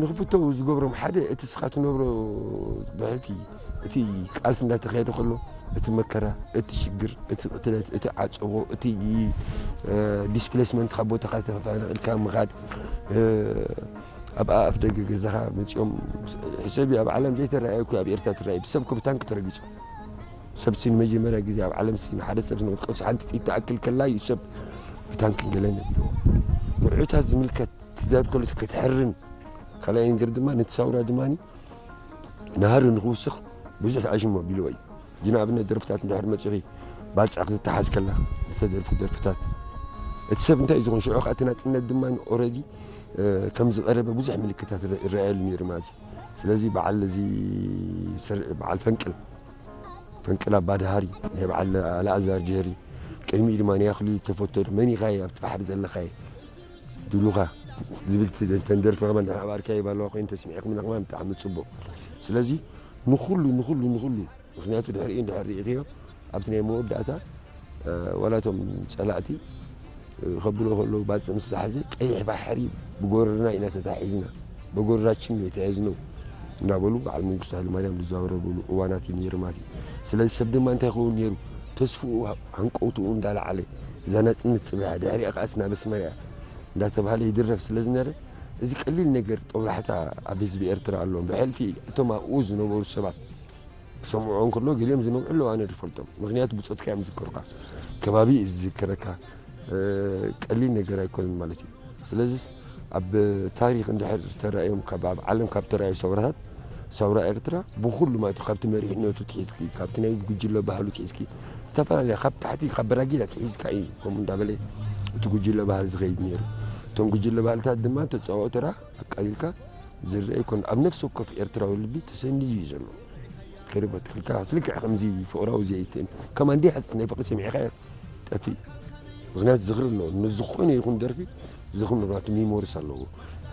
ንኽፍተው ዝገብሮም ሓደ እቲ ስኻ ትነብሮ ብሕቲ እቲ ቃልሲ እንዳተኻየደ ከሎ እቲ መከራ፣ እቲ ሽግር፣ እቲ ቅትለት፣ እቲ ዓጸቦ፣ እቲ ዲስፕሌስመንት ካብ ቦታኻ ተፈናቒልካ ምኻድ፣ ኣብ ኣፍ ደገ ገዛኻ መጺኦም ሕሰቢ ኣብ ዓለም ዘይተረኣየ እኮ ኣብ ኤርትራ ትረኣየ ብሰብ እኮ ብታንክ ተረጊጹ። ሰብሲ ንመጀመርያ ግዜ ኣብ ዓለምሲ ንሓደ ሰብ ዝነቅልቀልሲ ሓንቲ ጥይት ትኣክል ከላ እዩ ሰብ ብታንክን ገለን ነቢልዎ። ንዑታት ዝምልከት ክዛብ ከሎ ክትሕርን ካልኣይ ነገር ድማ ነቲ ሳውራ ድማ ናህሪ ንክውስኽ ብዙሕ ኣሽሞ ኣቢልዎ እዩ። ጅና ኣብነት ደርፍታት እንድሕር መጺኺ ባጽዕ ክትተሓዝ ከላ ዝተደርፉ ደርፍታት እቲ ሰብ እንታይ እዩ ዝኾን ሽዑ ከዓ እቲ ናጽነት ድማ ኦረዲ ከም ዝቐረበ ብዙሕ ምልክታት ይረኣየሉ ነይሩ ማለት እዩ። ስለዚ በዓል እዚ በዓል ፈንቅል ፈንቅል ኣባድሃሪ ናይ በዓል ኣልኣዛር ጀህሪ ቅድሚኡ ድማ ናይ ኣኽሊሉ ተፈተሉ መን ኢኻ ኣብቲ ባሕሪ ዘለኻየ ድሉኻ ዝብል ተንደርፊ ከማን ኣባርካየ ባለዋ ኮይኑ ተስሚዕኩም ከማን ብጣዕሚ ጽቡቕ። ስለዚ ንኹሉ ንኹሉ ንኹሉ ምኽንያቱ ድሕሪኡ እንድሕር ርኢኽዮ ኣብቲ ናይ መወዳእታ ዋላቶም ጸላእቲ ከብሎ ከለዉ ባጽዕ ምስ ዝሓዘ ቀይሕ ባሕሪ ብጎረርና ኢና ተታሒዝና በጎረራችን ነው የተያዝነው እንዳበሉ በዓል መንግስቱ ሃይለማርያም ዝዛወረብሉ እዋናት እዩ ነይሩ ማለት እዩ። ስለዚ ሰብ ድማ እንታይ ይኸውን ነይሩ ተስፍኡ ሃንቀውትኡ እንዳለዓለ እዛ ናጽነት ጽበያ ድሕሪኣ ከዓስ ናብ ኣስመራ እያ እንዳተባሃለ ይድረፍ ስለ ዝነበረ እዚ ቀሊል ነገር ጦብላሕታ ኣብ ህዝቢ ኤርትራ ኣለዎም ብሕልፊ እቶም ኣብኡ ዝነበሩ ሰባት ክሰምዖ እንከሎ ገሊኦም ዝነብዑ ኣለዉ ኣነ ዝፈልጦም ምክንያቱ ብፆትካ እዮም ዝዝከሩካ ከባቢ እዩ ዝዝከረካ ቀሊል ነገር ኣይኮነን ማለት እዩ ስለዚ ኣብ ታሪክ እንድሕር ዝተረኣዮም ኣብ ዓለም ካብ ተረኣዩ ሰውራታት ሰውራ ኤርትራ ብኩሉ ማለት ካብቲ መሪሕነቱ ትሒዝኪ ካብቲ ናይ ጉጅለ ባህሉ ትሒዝኪ ዝተፈላለያ ካብ ታሕቲ ካብ በራጊዳ ትሒዝካ እዩ ከምኡ እንዳበለ እቲ ጉጅለ ባህሊ ዝኸይድ ነይሩ እቶም ጉጅለ ባህልታት ድማ ተፃወኦ ተራ ኣቃሊልካ ዝረአ ይኮን ኣብ ነፍሲ ወከፍ ኤርትራዊ ልቢ ተሰንዩ እዩ ዘሎ ከደበት ክልካ ስልክዕ ከምዚ ፍቕራዊ ዘይትን ከማን ዲሓስ ናይ ፍቕሪ ሰሚዕካ ጠፊእ ምክንያቱ ዝኽሪ ኣለዎ ንዝኾነ ይኹን ደርፊ ዝኽሪ ናቱ ሚሞሪስ ኣለዎ